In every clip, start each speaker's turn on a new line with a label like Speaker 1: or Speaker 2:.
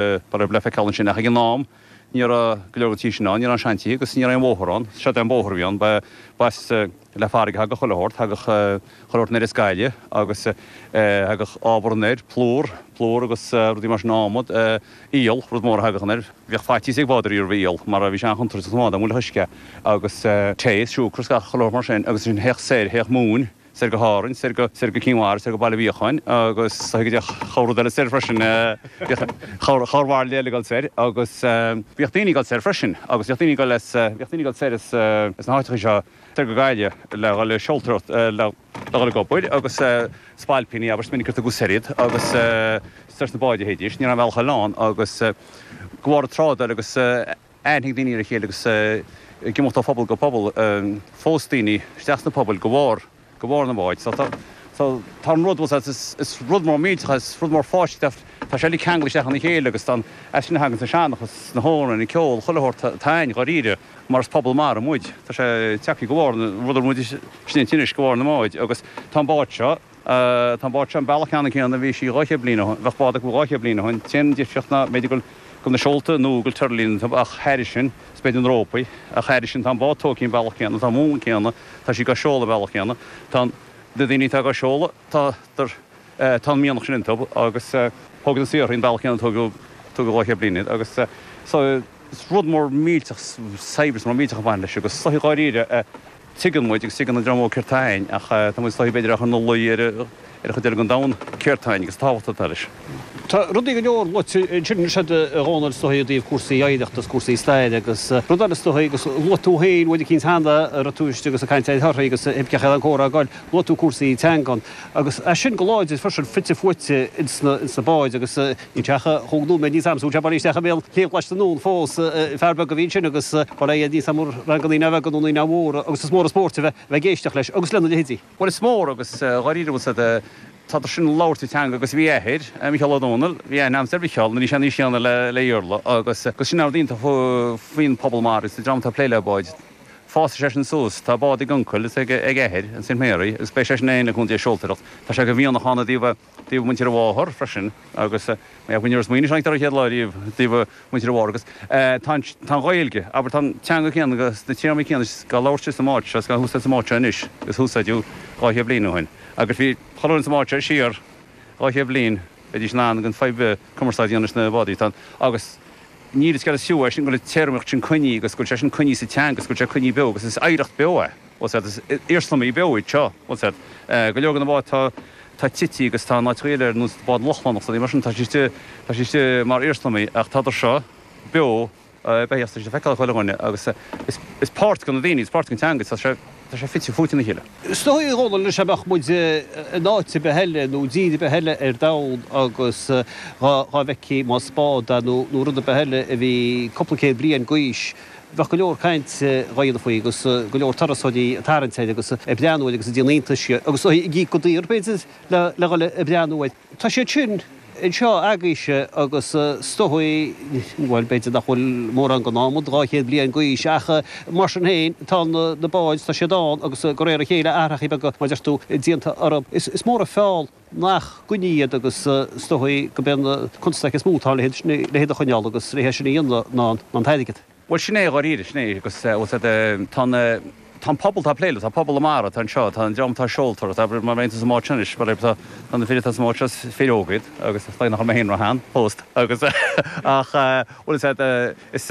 Speaker 1: Ba le feiceáil ansin ach ag an am ní raibh go leor den tí sin ann, ní raibh an seantithe agus ní raibh aon bhóthar ann. Seod é an bóthar a bhí ann, ba as le farraige a thagadh chuile shórt, thagadh chuile shórt anoir as Gaillimh agus thagadh ábhar anoir, plúr, plúr agus rudaí mar sin, adhmad, iall, rud mór a thagadh anoir. Bheadh faitíos ag bádóirí roimh iall mar bhí sé an-chontúirteach don bhád dá mbuailfeadh uisce agus tae, siúcra is gach chuile shórt mar sin agus ansin théadh soir, théadh móin. soir go hÁrainn, soir go, soir go Cinn Mhara, soir go Baile Mhíocháin agus go dtí corr rud eile soir freisin, bhíodh corr, corr bhairille eile ag dul soir agus bhíodh daoine ag dul soir freisin agus bhíodh daoine ag dul as, bhíodh daoine ag dul soir as, as na háiteacha seo soir go Gaillimh le dhul ag seoltóireacht, le dhul ag obair agus spailpíní, abair, is minic gur tugadh soir iad agus soir sna báid a théidís, ní raibh aon bhealach eile ann agus de bharr an trádáil agus. aithne ag daoine ar a chéile agus ag imeacht ó phobal go pobal. Phós daoine isteach sna pobail de bharr, de bharr na mbád. So tá, so tá an rud, bhfuil a fhios agat, is rud mór millteach é, is rud mór fáiscthe, tá sé uilig ceangailte isteach ina chéile agus tá an, as sin a thagann an seanchas, na hamhráin, an ceol, chuile shórt atá ann, dháiríre, mar is pobal mara muid. Tá sé tagtha de bharr na, rud a bhfuil muid istigh anois, de bharr na mbád agus tá an bád seo, Tá an bád seo an bealach ceannann céanna a bhí sí 200 bliain ó shin, bheadh bád acu 200 bliain ó shin. An t-aon difríocht ná b'fhéidir go bhfuil na seolta nua, go bhfuil tuirlín iontu ach thairis sin, is b'fhéidir na rópaí, ach thairis sin tá an bád tógtha an bealach céanna, tá an múnla céanna, tá sí dhá seoladh an bealach céanna, tá na daoine atá dhá seoladh, tá tá an mianach sin iontu agus thóg na saorthaí an bealach céanna a tógadh 200 bliain iad agus so is rud mór millteach saibhreas mór millteach a bhain leis agus is dóichí dháiríre Tuigeann muid agus tuigeann an dream óg céard tá ann ach tá muid is dóichí b'fhéidir á chur ina luí ar an chuid eile den domhan céard tá ann agus an tábhacht atá leis.
Speaker 2: Tá rudaí go leor luaite ansin anois agat a Dhónaill is dóichí i dtaobh cúrsaí oidhreachta is cúrsaí staire agus rud eile is dóichí agus luaigh tú féin uair eicínt cheana a raibh tú istigh agus ag caint ar thorthaí agus cén chaoi an comhrá ag goil, luaigh tú cúrsaí teangan agus é sin go láidir freisin fite fuaite ins na báid agus Níl sé ach chúig nóiméad níos am, súil sé bailí isteach i mbéal Shliabh Ghlais na nDún fós. Fear beag a bhí ansin agus ba le iad níos am ranganna naíonáin bheaga nó naíonáin mhóra agus is mór an spórt a bheith ag éisteacht leis agus lena leithéidí.
Speaker 1: Bhuel is mór agus dháiríre bhfuil siad, tádar sin ag labhairt an teanga agus bhí athair, Micheál Ó Domhnaill, bhí aithne a'msa ar Mhicheál nuair a bhí sé in aois chéanna le le Iarla agus agus sin rud iontach faoin pobal mara agus an dream atá ag plé le báid. Fásfaidh sé sin suas, tá bád ag uncail is ag ag athair in St Mary agus beidh sé sin féin le cúnamh Dé ag seoltóireacht. Tá sé de mhianach ann i dtaobh taobh muintir a mháthar freisin agus mé ag smaoineamh ar an chéad lá riamh taobh muintir a mháthar agus tá an tá an Ghaeilge, abair tá an teanga céanna agus na téarmaí céanna dhá labhairt sa mbád seo is dhá húsáid sa mbád seo anois agus húsáideadh 200 bliain ó shin agus bhí chuile dhuine sa mbád seo siar 200 bliain bheidís in ann gan fadhb cumarsáid a dhéanamh leis na bádaí tá agus níl is cead is fiú é sin go bhfuil an téarmaíocht sin coinnithe agus go bhfuil sé sin coinnithe sa teanga agus go bhfuil sé coinnithe beo agus is oidhreacht beo é. Bhfuil a fhios agat, is iarsmaí beo iad seo, bhfuil a fhios agat. Go leor de na báid tá tá tite agus tá in áiteacha eile ar nós bád Lochlannach is rudaí mar sin, tá siad istigh, tá siad istigh mar iarsmaí ach tádar seo beo, beithíoch, tá siad le feiceáil ag chuile dhuine agus is is páirt de na daoine, is páirt den teanga, tá sé tá sé fite fuaite ina chéile.
Speaker 2: Is dóigh, a Dhónaill, anois dá mbeadh muid in áit ar bith eile nó dtír ar bith eile ar domhan agus dhá dhá bhfeicfí más bád é nó nó rud ar bith eile a bhí cúpla céad bliain d'aois, Bheadh go leor cainte dhá dhéanamh faoi agus go leor turasóirí ag tarraingt air agus ag breathnú air agus ag déanamh iontais agus ag íoc go daor, b'fhéidir, le dhul ag breathnú air. Tá siad sin anseo agaibhse agus is dóigh, bhuel, b'fhéidir nach bhfuil mórán den adhmad 200 bliain d'aois ach mar sin féin, tá na báid, tá siad ann agus de réir a chéile athrachaí beaga, mar a deir tú, déanta orthu. Is mór an feall. nach gcoinní iad agus is dóigh gurb é an constaic is mó atá le hiad a choinneáil agus le é sin a dhéanamh ná an t-airgead.
Speaker 1: Bhuel, sin é, dháiríre, sin é agus bhfuil a fhios agat, tá na, tá an pobal atá ag plé leo, tá pobal na mara atá anseo, tá an dream atá ag seoltóireacht, abair, mar aon sa mbád seo anois, mar tá, tá na fir atá sa mbád seo, is fir óga iad agus is dóigh nach bhfuil mé féin ró-shean fós agus ach bhfuil a fhios agat, is.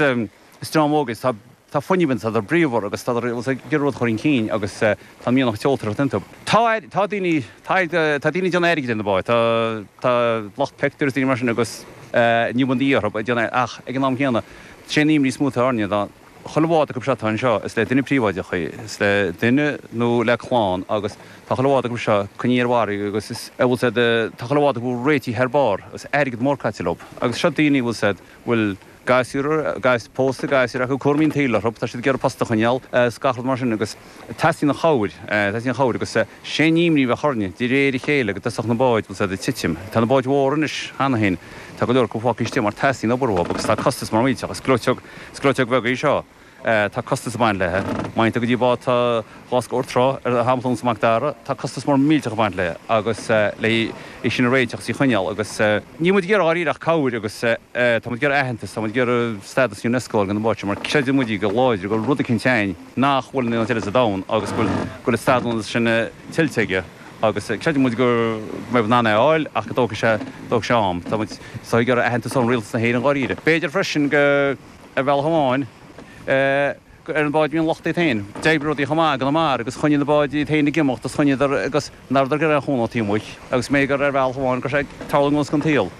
Speaker 1: Is dream óg iad, tá tá fuinneamh iontu, tádar bríomhar agus tádar ag iarraidh rud a chur chun cinn agus tá an mianach seoltóireachta iontu. Tá tá daoine tá tá daoine ag déanamh airgid ar na báid, tá tá lucht pictiúr is daoine mar sin agus ní bhíonn de dhíth orthu ag déanamh ach ag an am céanna sé an imní is mó atá orainne ná chuile bhád acu seo atá anseo is le duine príobháideach í, is le duine nó le clann agus tá chuile bhád acu seo coinnithe ar mhargadh agus is bhfuil a fhios agat tá chuile bhád acu réitithe thar barr agus airgead mór caite leo agus seo daoine bhfuil a fhios agat bhfuil gasúr, pósta, gasúir acu, cúraimí an tsaoil orthu, tá siad ag iarraidh post a choinneáil is gach rud mar sin agus teastaíonn an chabhair, teastaíonn an chabhair agus sé an imní a bheadh orainne de réir a chéile go dtosódh na báid, bhfuil a fhios agat, ag titim. Tá na báid mhóra anois cheana féin, tá go leor acu fágtha istigh mar teastaíonn obair uathu agus tá costas mór millteach, is gleoiteog, is gleoiteog bheag í seo. Tá costas ag baint léithe. Má théann tú go dtí bád tá dhá scór troigh ar shampla ar nós Mac Dara, tá costas mór millteach ag baint léithe agus le í sin a réiteach agus í a choinneáil agus níl muid ag iarraidh dháiríre ach cabhair agus tá muid ag iarraidh aitheantas, tá muid ag iarraidh stádas Unesco a fháil don bhád seo mar creideann muid go láidir go bhfuil rud eicínt ann nach bhfuil in aon áit eile sa domhan agus go bhfuil an stádas sin tuillte aige agus creideann muid go mbeidh muid in ann é a fháil ach go dtógfaidh sé, dtógfaidh sé am. Tá muid ag iarraidh aitheantas ón Rialtas na hÉireann dháiríre. B'fhéidir freisin go. Ar bhealach amháin, gur ar an bád a bhí an locht iad féin. D'oibrigh rudaí chomh maith i gConamara agus choinnigh na báid iad féin ag imeacht agus choinníodar agus nach rabhadar ag iarraidh aon chúnamh taobh amuigh agus b'fhéidir gur ar bhealach amháin go raibh sé ag tarlú i gconas an tsaol.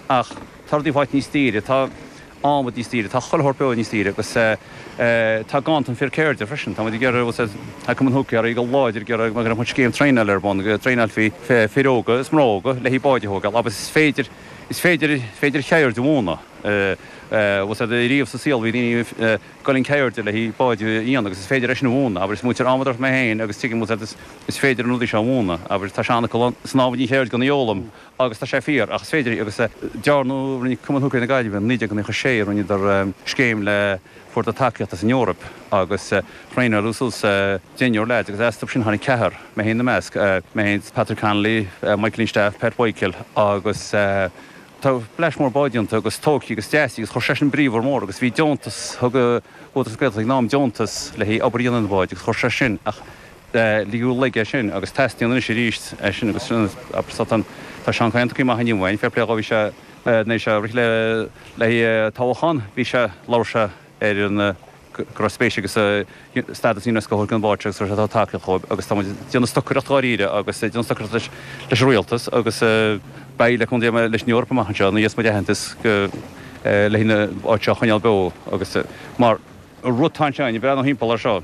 Speaker 1: Ach tá rudaí faighte níos daoire, tá adhmad níos daoire, tá chuile shórt beo níos daoire agus tá ganntan fir ceirde freisin. Tá muid ag iarraidh, bhfuil a fhios a'd, tá Cumann Húicéirí go láidir ag iarraidh go mbeadh scéim traenála ar bun, go dtraenálfaí fir óga is mná óga le haghaidh báid a thógáil agus is féidir, is féidir, is féidir ceird a mhúineadh. Bhfuil a fhios a'd, riamh sa saol bhí daoine ag goil chun ceirde le haghaidh báid a dhéanamh agus is féidir é sin a mhúineadh. Abair, is múinteoir adhmadóireachta mé féin agus tuigim, bhfuil a fhios a'd, is féidir na rudaí seo a mhúineadh. Abair, tá seanfhocal ann, is an adhmaid an cheird gan í a fhoghlaim agus tá sé fíor ach is féidir í agus dearnadh, rinne Cumann Húicéirí na Gaillimhe in 1996, rinneadar scéim le, fuaireadar tacaíocht as an Eoraip agus thraenáileadh suas deichniúr leaids agus astu sin tháinig ceathrar, mé féin ina measc, mé féin, Patrick Connolly, Michael Lynch-Staff, Pat Mhichael agus. Tá bleaist mhór báid déanta agus tógtha agus deasaithe agus chuir seisean brí mhór agus bhí deontas, thug Údarás na Gaeltachta ag an am deontas le haghaidh obair a dhéanamh ar na báid agus chuir sé sin ach ligeadh laige é sin agus teastaíonn anois arís é sin agus sin tá Seán Kyne tugtha amach inniu uainn, fair play dhó bhí sé nuair sé rith le le haghaidh toghchán bhí sé labhair sé ar an go raibh spéis aige sa stádas Unesco a thabhairt don bhád seo agus go raibh sé tacaíocht dhóibh agus tá muid ag déanamh stocaireacht dháiríre agus ag déanamh stocaireacht leis leis an rialtas agus beidh le cúnamh Dé leis an Eoraip amach anseo nuair a gheobhas muid aitheantas go le haghaidh an bád seo a choinneáil beo agus mar rud atá anseo ag breathnú thimpeall ar seo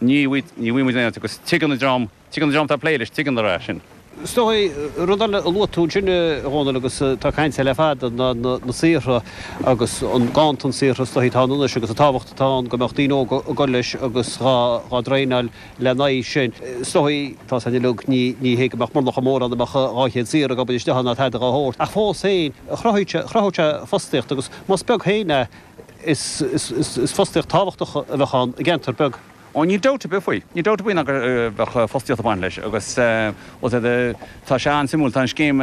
Speaker 1: ní ní bhfaighidh muid aon áit agus tuigeann an dream Tuigeann an dream atá ag plé leis, tuigeann é sin.
Speaker 2: Is dóigh, rud eile a luaigh tú ansin, a Dhónaill, agus tá caint air le fada, ná na saortha agus an ganntan saortha is dóigh atá ann anois agus an tábhacht atá ann go mbeadh daoine óga ag dul leis agus dhá dtraenáil lena aghaidh sin. Is dóigh, tá a fhios againn uilig, ní hé go mbeadh monarcha mór ann a mbeadh 200 saor ag obair istigh ann ná tada dhá shórt, ach fós féin, chruthódh sé fostaíocht agus más beag féin é, is fostaíocht tábhachtach a bheadh ann i gceantar beag.
Speaker 1: Ó níl dabht ar bith faoi. Níl dabht ar bith ná go bheadh fostaíocht ag baint leis agus bhuel tá sé an-suimiúil, tá an scéim,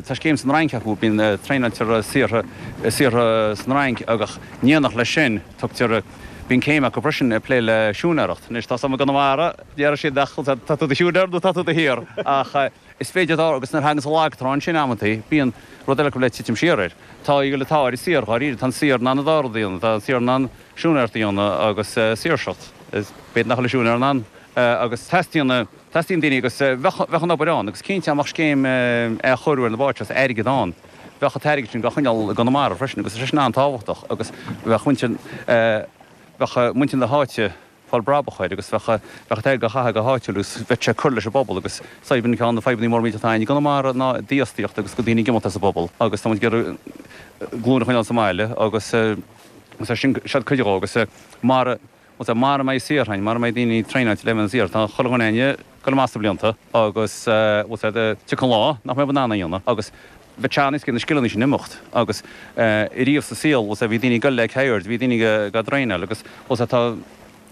Speaker 1: tá scéim san Fhrainc acu, bíonn, traenáiltear saortha, saortha san Fhrainc agus in éineacht leis sin tugtar, bíonn céim acu freisin ag plé le siúinéireacht. Anois tá a fhios agam i gConamara, déarfaidh siad ach tá tú do shiúinéir nó tá tú do shaor ach is féidir dá, agus nuair a thaganns an lag trá ansin amantaí bíonn rud eile acu le titim siar air. Tá an t-ádh ar an saor dháiríre, tá an saor in ann an dá rud a dhéanamh, tá an saor in ann, siúinéireacht a dhéanamh agus saoirseacht. B'fhéidir nach bhfuil an siúinéir in ann agus teastaíonn, teastaíonn daoine agus bheadh, bheadh an obair ann agus cinnte dá mbeadh scéim athchóiriú ar na báid seo is airgead ann, bheadh an t-airgead sin á choinneáil i gConamara freisin agus tá sé sin an-tábhachtach agus bheadh muintir, bheadh muintir na háite, fáil brabach air agus bheadh bheadh an t-airgead á chaitheamh go háitiúil agus bheadh sé ag cur leis an bpobal agus saidhbhir ceann de na fadhbanna móra millteach atá againn i gConamara ná dífhostaíocht agus go daoine ag imeacht as an bpobal agus tá muid ag iarraidh glúin a choinneáil sa mbaile agus agus é sin siad cuid dhó agus mara agus mara mbeidh saortha againn mara mbeidh daoine traenáilte le bheith ina saor tá chuile dhuine againn ag dul amach sna blianta agus bhfuil a fhios a'd tiocfaidh an lá nach mbeidh muid in ann é a dhéanamh agus bheadh sé an-éasca na scileanna sin imeacht agus riamh sa saol bhfuil a fhios a'd bhí daoine ag dul le ceird, bhí daoine ag traenáil agus bhfuil a fhios a'd tá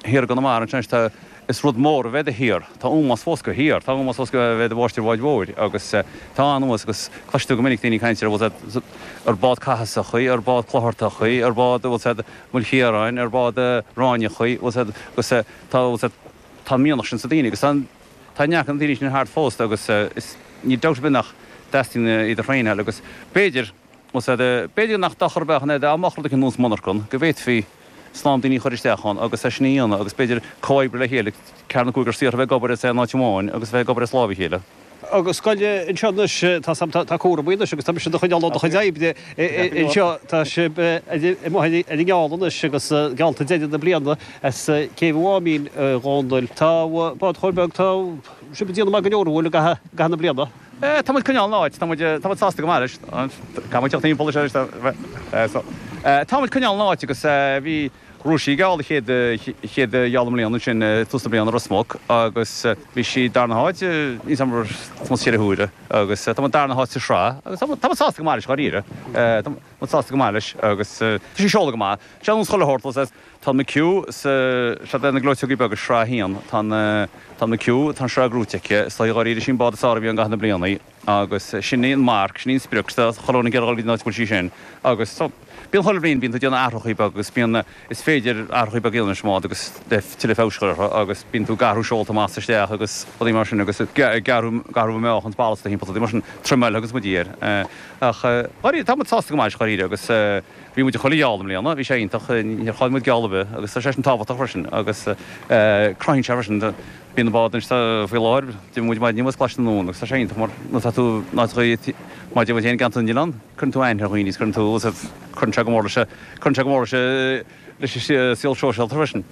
Speaker 1: thiar i gConamara ansin tá is rud mór a bheith i do shaor, tá ómós fós do shaor, tá ómós fós go bheith i do mháistir bháid mhóir agus tá an-ómós agus cloisfidh tú go minic daoine ag caint ar bhfuil a fhios a'd ar bád Cathasach í, ar bád Clochartach í, ar bád bhfuil a fhios a'd Maoilchiaráin, ar bád Ráinneach í, bhfuil a fhios a'd agus tá bhfuil a fhios a'd tá an mianach sin sa daoine agus tá an Tá neart de na daoine sin thart fós agus is níl dabht ar bith nach dteastaíonn iad a thraenáil agus b'fhéidir, b'fhéidir nach dochar a bheadh ann dá mbeadh rud éicint ar nós monarchan, go bhféadfaí slám daoine a chur isteach ann agus é sin a dhéanamh agus b'fhéidir comhoibriú le chéile, ceathrar nó cúigear saortha a bheith ag obair as aon áit amháin agus a bheith ag obair as láimh a chéile.
Speaker 2: Agus scoil anseo anois, tá sam, tá cúram anois agus tá mise do choinneáil ó do chuid oibre anseo, tá sibh amuigh ar an ngeall anois agus geallta deireadh na bliana as Céibh an Mháimín, a Dhónaill. Tá bád chóir beag, tá sibh ag déanamh maith go leor, an bhfuil, i gcaitheamh na bliana?
Speaker 1: Tá muid ag coinneáil an áit, tá muid, tá muid sásta go maith leis. Caithfidh muid teacht timpeall leis anois, tá, so. Tá muid ag coinneáil an áit agus bhí. Ghnóthaigh sí geall an chéad chéad gheall i mbliana ansin tús na bliana Ros Muc agus bhí sí darna háit níos am níos ceithre huaire agus tá muid darna háit sa sraith agus tá muid sásta go maith leis dháiríre. Tá muid sásta go maith leis agus tá sí ag seoladh go maith. Sé an chuile shórt tá an McHugh sa sead na gleoiteogaí beaga sraith a haon tá an tá an McHugh tá an sraith gnóite aici is dóigh dháiríre sin bád is fearr a bhí ann i gcaitheamh na bliana agus sin í an marc, sin í an sprioc, tá chuile dhuine ag iarraidh dul go dtí an áit a bhfuil sí sin agus so bíonn chuile bhliain bíonn tú ag déanamh athrachaí beaga agus bíonn, is féidir athrachaí beaga a dhéanamh leis an mbád agus le tuilleadh feabhais a chur orthu agus bíonn tú ag athrú seolta amach is isteach agus rudaí mar sin agus ag athrú ag athrú meáchan is ballasta timpeall rudaí mar sin troimeáil agus muid air ach dháiríre tá muid sásta go maith leis dháiríre agus bhí muid i chuile gheall i mbliana, bhí sé iontach, níor chaill muid geall ar bith agus tá sé sin tábhachtach freisin agus cruthaíonn sé freisin Bíonn an bád anois faoi láthair, d'imigh muid maidin inniu agus Coláiste na nDún agus tá sé iontach mar nuair atá tú in áiteachaí mar deir muid féin i gceantar na nOileán, cuireann tú aithne ar dhaoine is cuireann tú, cuireann sé go mór leis, cuireann sé go mór leis leis an saol sóisialta freisin.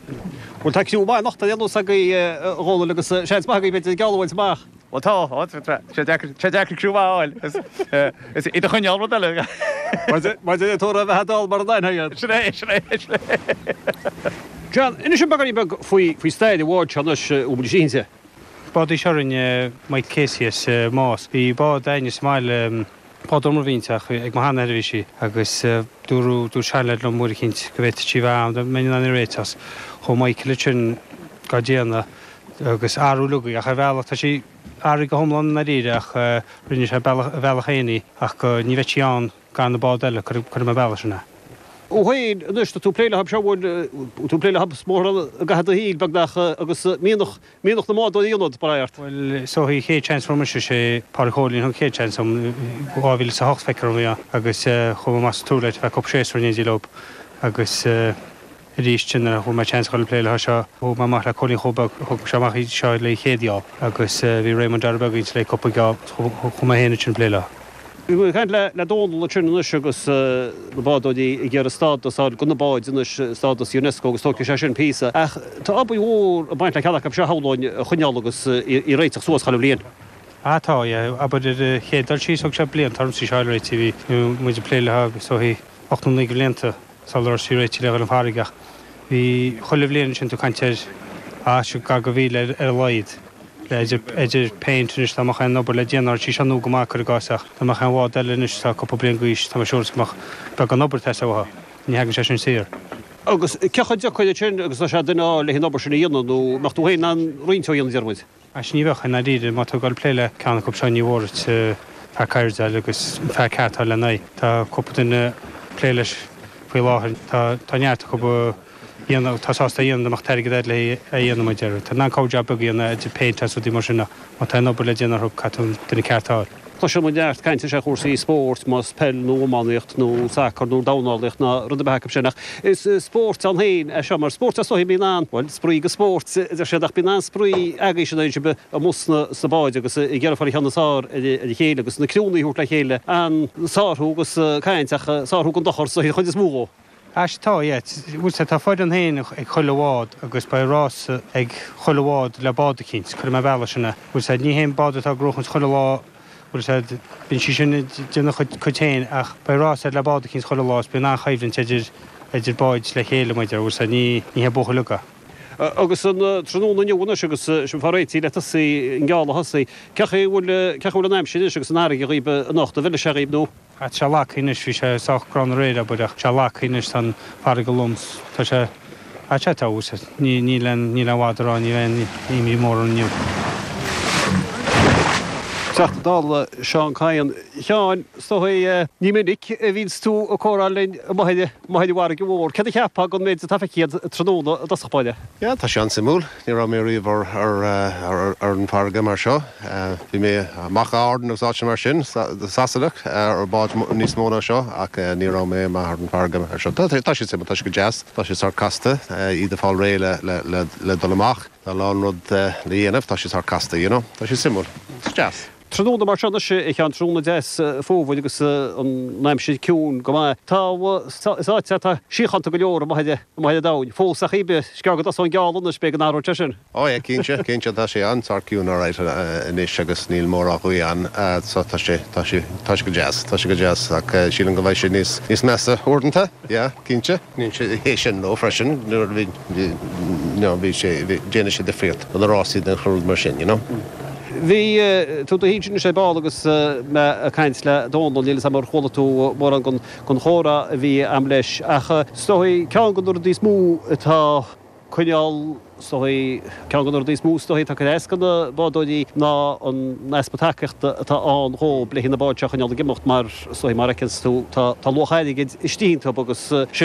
Speaker 2: Bhuel tá criú maith anocht ar aon nós agaibh a Dhónaill agus seans maith agaibh b'fhéidir geall a bhaint amach.
Speaker 1: Bhuel tá, tá sé deacair, sé deacair criú maith a fháil is iad a choinneáil rud eile.
Speaker 2: Mar deir tú a bheith ag dul mar an aithne iad.
Speaker 1: Sin é, sin é, sin
Speaker 2: é. John, inis dom beagáinín beag faoi, faoi stair an bháid seo anois, a bhfuil muid istigh inti.
Speaker 3: Bád í seo a rinne Mike Casey as Más. Bhí bád a'inne sa mbaile, bád iomarbhaí ach ag mo sheanathair a bhí sí agus dúradh, dúirt seanleaid liom uair eicínt go bhféadfadh sí a bheith ann, dá mbeinn in ann í a réiteach. Chuaigh Michael ansin dhá déanamh agus athrú uilig í ach ar bhealach tá sí athraithe go hiomlán i ndáiríre ach rinne sé bealach, a bhealach féin í ach go, ní bheadh sí ann gan na bád eile, cuirfidh mé bealach sin é.
Speaker 2: Thú féin anois, tá tú ag plé leo seo, bhfuil tú ag plé leo mórán i gcaitheamh do shaoil, beagnach, agus mianach, mianach na mbádóirí ionat, mar ort.
Speaker 3: Bhuel, is dóichí an chéad seans a fuair mise, sé Pádraig Chóilín a thug an chéad seans dom, 2008 feictear dom a bhí ann, agus chuaigh mé amach sa Tour Light ar feadh cúpla séasúr in éindí leo agus, Arís sin nuair a fuair mé seans a dhul ag plé leo seo, chuaigh mé amach le Cóilín Chomh Beag, thug sé amach í seo le chéad gheall agus bhí Raymond Dara Beag inti le cúpla geall agus chuaigh mé féin ansin ag plé leo.
Speaker 2: Bhí muid ag caint le Dónal ansin anois agus na bádóirí ag iarraidh stádas a fháil do na báid anois, stádas Unesco agus tógfaidh sé sin píosa. Ach tá obair mhór ag baint le ceann acu seo shamhlóinn a choinneáil agus í a réiteach suas chuile bhliain.
Speaker 3: Ah tá, yeah. Abair ar an chéad dul síos thóg sé blianta ormsa í seo a fháil réitithe, bhí muid ag plé leo is dóichí 8 nó 9 de bhlianta. Sula raibh sí réitithe le dhul ar an bhfarraige ach bhí chuile bhliain ansin tú ag caint ar ah seo gar do mhíle ar a laghad le idir idir péint anois dá mbeadh aon obair le déanamh uirthi, seo nua go maith cuir i gcás ach dá mbeadh aon bhád eile anois atá cúpla bliain d'aois tá mé siúr is go mbeadh beagán obair ag teastáil uathu. Ní thagann sé sin saor.
Speaker 2: Agus cé chomh deacair é sin agus atá sé duine a fháil le an obair sin a dhéanamh nó an mbeadh tú féin in ann roinnt dó a dhéanamh deir muid?
Speaker 3: Sea ní bheadh, i ndáiríre. Má tá tú ag dul ag plé le ceann acu seo ní mhór duit fear ceirde a fháil agus an fear ceart a fháil lena aghaidh. Tá cúpla duine ag plé leis faoi láthair. Tá tá neart acu a dhéanamh, atá sásta a dhéanamh dá mbeadh an t-airgead agat le é a dhéanamh mar a déarfá. Tá in ann cabhair jab beag a dhéanamh idir péint agus rudaí mar sin ach má tá aon obair le déanamh orthu caithfidh tú an duine ceart a fháil.
Speaker 2: Cloiseann muid neart cainte ar chúrsaí spóirt, más peil nó iománaíocht nó sacar nó dornálaíocht ná rud ar bith acu sin, ach is spórt ann féin é seo, mar spórt is dóichí a bíonn an, bhuel, spraoi go spórt, a deir siad, ach bíonn an-spraoi agaibhse in aon chor amuigh sna, sna báid agus ag iarraidh fáil an ceann is fearr ar a chéile agus na criúnna a thabhairt le chéile, an-sárú agus caint ach sárú gan dochar sa chuid is mó dhó.
Speaker 3: Sea tá, yeah. Bhuel sea, tá foireann féin ag chuile bhád agus beidh rás ag chuile bhád le bád eicínt, cuirfidh mé bealach sin é. Bhuel sea, ní haon bád atá ag gnóchaint chuile lá, bhuel sea, bíonn sí sin ag déanamh a cuid féin ach beidh rás air le bád eicínt chuile lá is bíonn an-choimhlint idir, idir báid le chéile, mar a déarfá, bhuel sea, ní, ní hé buachaill uga.
Speaker 2: Agus an tráthnóna inniu anois agus sibh fá réitigh le tosaí, an geall a thosaí, cé chaoi a bhfuil, cé chaoi a bhfuil an aimsir anois agus an fharraige dhaoibh anocht, an bhfeilfidh sé dhaoibh nó?
Speaker 3: Tá sé lagtha anois, bhí sé sách gránna aréir, abair, ach tá sé lagtha anois, tá an farraige lom, tá sé, ah tá sé, tá, ní, níl aon, níl aon mhaith a rá, ní bheidh aon imní mór orm inniu.
Speaker 2: Teachta Dála Seán Kyne. A Sheáin, is dóigh, ní minic a bhíonns tú ag comhrá linn amuigh ar, amuigh ar an bhfarraige mhór. Céard a cheapfá den méid atá feicthe agat tráthnóna i dtosach báire?
Speaker 4: Yeah, tá sé an-suimiúil. Ní raibh mé riamh ar, ar, ar an bhfarraige mar seo. Bhí mé amach i Árainn agus áiteanna mar sin, Sasanach, ar báid níos mó ná seo ach ní raibh mé amach ar an bhfarraige mar seo. Tá sé suimiúil, tá sé go deas, tá sé sórt casta, iad ag fáil réidh le dul amach. Tá a lán rud le dhéanamh, tá sé sórt casta, you know. Tá sé suimiúil. Is deas.
Speaker 2: Tráthnóna mar seo anois, a Sheáin, tráthnóna deas fómhair agus an aimsir ciúin go maith. Tá, is áit é atá síochánta go leor amuigh ar amuigh ar an domhain. Fós ach is gearr go dtosóidh an geábh anois, b'fhéidir go n-athróidh sé sin.
Speaker 4: Oh yeah, cinnte, cinnte, tá sé an-sórt ciúin alright anois agus níl mórán gaoth ann so tá sé, tá sé, tá sé go deas, tá sé go deas ach sílim go mbeidh sé níos, níos measa uaireanta, yeah, cinnte. Níl sé é sin nó freisin nuair a bhí, you know, bhí sé, bhí, déanann sé difríocht do na rásaí den rud mar sin, you know.
Speaker 2: Bhí tú do shuí ansin ar ball agus mé ag caint le Dónal, níl 'fhios a'm ar chuala tú mórán den chomhrá a bhí a'm leis ach is dóigh ceann de na rudaí is mó atá coinneáil, is dóigh, ceann de na rudaí is mó is dóigh atá ag cur as do na bádóirí ná an easpa tacaíochta atá ann dhóib le na báid seo a choinneáil ag imeacht mar is dóigh mar a fheiceanns tú tá luach airgid istigh iontu agus sin.